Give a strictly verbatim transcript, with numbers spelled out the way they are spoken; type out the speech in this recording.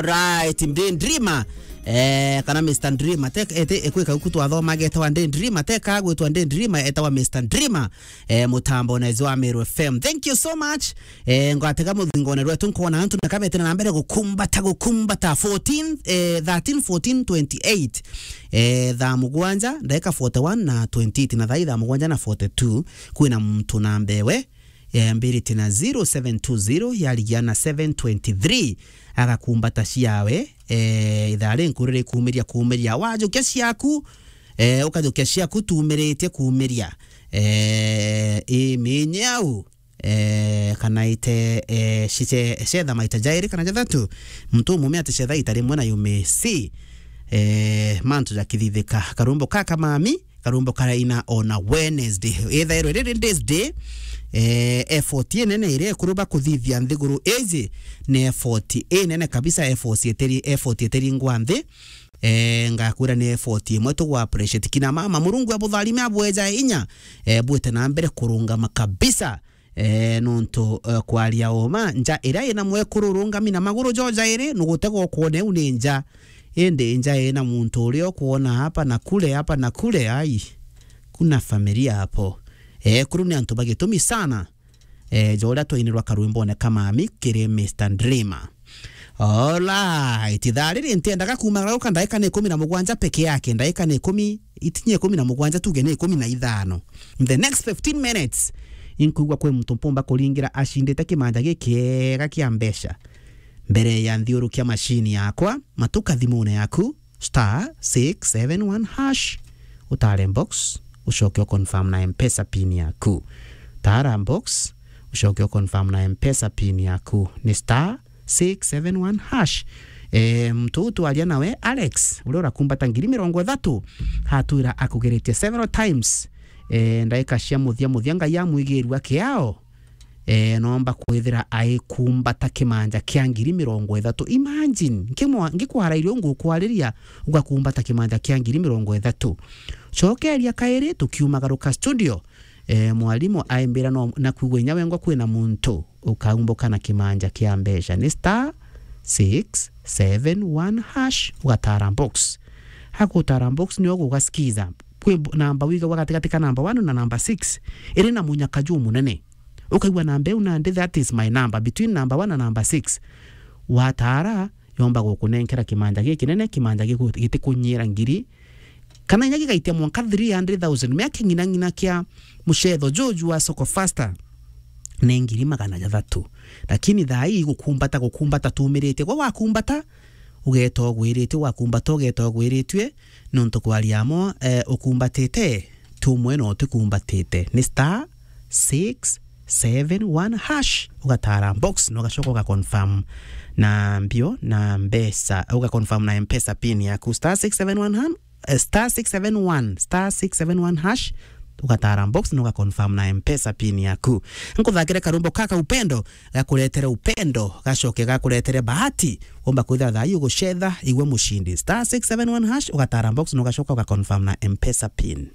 Right, Daydreamer. Eh, kana Mister Dreamer. Te, ete, ekwika uku twathoma agetawa Daydreamer. Teka gwitwa Daydreamer, etawa Mister Dreamer. Eh, mutambo na Ezwa Meru F M. Thank you so much. Eh, ngwatega muthingone rwetu nkona antu na kabete na mbere gukumbata, gukumbata. Fourteen, eh, thirteen, fourteen, twenty-eight. Eh, thaa mugwanja, ndagika forty-one na twenty-eight, na thaa thaa mugwanja na forty-two, kwina muntu na mbewe, eh, mbirite na zero seven two zero, yarigia na seven twenty-three, agakumbata ciawe, eh, ithaa ri nkuru rikumiria kumiria. Wajukia ciaku, eh, ukajukia ciaku tumiritie kumiria. Eh, imenye au, eh, kana ite, eh, cice-, cetha maita jairi kana jathatu. Muntu umume ati cetha ita rimwe na you may see, eh, mantu jakithithika. Karumbo ka kamami, karumbo karaina ona Wednesday. Ithairwe riri this day, eh, effort inene iria ikuruba kuthithia nthiguru iji ni effort inene kabisa, effort iteri-, effort iteringwa nthi. Eh, ngakwira ni effort imwe tugu appreciate. Kina mama, Murungu abutharime, abweja inya, eh, bwite na mbere kurungama kabisa. Eh, nontu, eh, kwaria uma, nja iria ina mwekuru urungami na maguru jo jairi, nugutega ukwona iu ni nja. Indi nja ina muntu uria ukwona hapa na kule, hapa na kule, ai, kuna familia hapo. Eh, kuru ni antu bagitumi sana. Eh, ja uria twainirwa karwimbone ka mami kiri Mister Dreamer. Alright, ithaa riri ntiendaga kumagara guka ndaika ni ikumi na mugwanja peke yake, ndaika ni ikumi, itinye ikumi na mugwanja, tuge ni ikumi na ithano. In the next fifteen minutes, inkwigua kwi muntu mpumba kuringira acindite kimanja gikiega kia mbeca. Mbere ya nthiurukia machine yakwa, matuka thimune yaku, star six seven one hash, utare box, ucoke u confirm na M-Pesa pin yaku. Tara box, ucoke u confirm na M-Pesa pin yaku. Ni star six seven one hash. Eh, muntu uu twaria nawe, Alex, uria urakumbata ngiri mirongo ithatu, hatwira akugeretie several times. Eh, ndaika cia muthia muthia, Ngai amwigirua kiao. Eh, nomba kwithira aikumbata kimanja kia ngiri mirongo ithatu. Imagine, nkimwa-, ngikwarairia ungukwariria, ugakumbata kimanja kia ngiri mirongo ithatu. Cokeria kairi, tukiumagaruka studio. Eh, mwarimu aimbira no, na kwigua inya wengwa kwina muntu ukaumbuka na kimanja kia mbeca. Ni star six seven one hash, ugatara box. Hakutara box, nio gugasikiza. Kwi mb-, namba wigagwa gatigati ka namba one na namba six, iri na munyaka jumunene. Ukaigua namba iu nandi, that is my number, between number one na number six. Watara, yomba gukunenkera kimanja gikinene, kimanja giku-, gitikunyira ngiri, kana inya gigaitia mwanka three hundred thousand, mea king'inang'ina kia mucetho juju wa Soko Faster, ni ngiri magana jathatu. Lakini thaa ii gukumbata, gukumbata tumiritie. Gwe wakumbata, ugeeta ugwiritue, wakumbata ugeeta ugwiritue, nontu kwaria amo, eh, ukumbatite, tumwe no utikumbatite. Ni star six seven one hash, ugatara box, na ugacoka ugaconfirm na mbio na mbeca, ugaconfirm na M-Pesa pin yaku, star six seven one ham-, eh, star six seven one, star six seven one hash, ugatara box na ugaconfirm na M-Pesa pin yaku. Nkuthakire karumbo kaka upendo, gakuretere upendo, gacoke gakuretere bahati. Womba kwithira thaa ii ugucetha, igwe mucindi. Star six seven one hash, ugatara box na ugacoka ugaconfirm na M-Pesa pin.